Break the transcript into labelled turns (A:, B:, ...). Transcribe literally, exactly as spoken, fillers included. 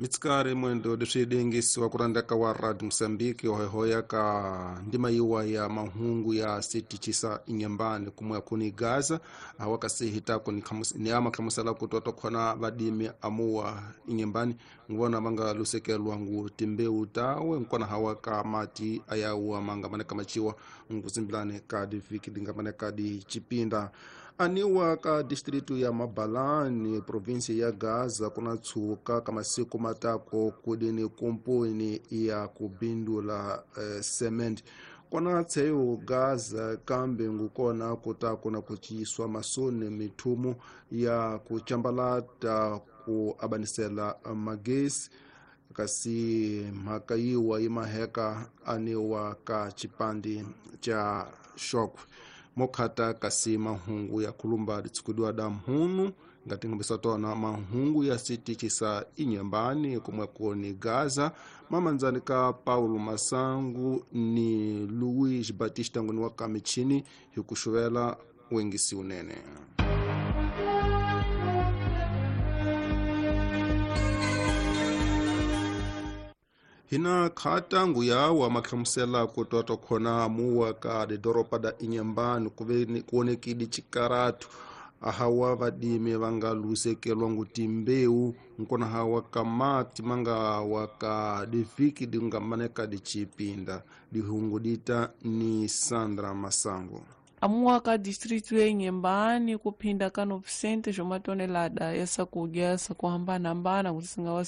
A: Mitsikari mwendo leswi dengisiwa ku rhandzaka wa Radio Mozambique hohoya ka ndima yiwa ya mahungu ya sitichisa inyambani kumwe kuni Gaza hawa kasihita ni khamus ni ama khamusela ku toto khona vadimi amuwa inyambani ngona manga lusekelwa ngu timbeu tawe nkona hawa ka mati ayawa manga maneka machiwa nguzimbilane ka diviki dinga maneka di chipinda aniwa ka distritu ya Mabalani provinsi ya Gaza kuna tsuka kama siku matako kudini kumpuni ya kubindula eh, cement kona tseyo Gaza kambe ngukona kutakuna kuchiswa masone mithumu ya kuchambalata ku abanisela magesi kasi mhaka yiwa imaheka aniwa ka chipandi cha shokwe mokhata kasi mahungu ya khulumba litsikudiwa da mhunu ngati ngambisa tona mahungu ya sitichisa inyambani kumwe koni Gaza mamanzani ka Paulo Masangu ni Luis Batista ngoni wa kamichini hikuxuvela wengisi unene. Hina khata nguya makhamusela kutoto khona muwa ka doropa da inyambani kuve kuonekidi chikaratu ahawa vadimi vanga lusekelwa ngutimbeu nkona hawa kamati manga waka diviki dingamaneka dichipinda dihungu dita ni Sandra Masango.
B: Amuwa ka distrito ya Inhambane kuphinda ka novecentos uma tonelada essa kugesa kuhambana-hambana kuti singawa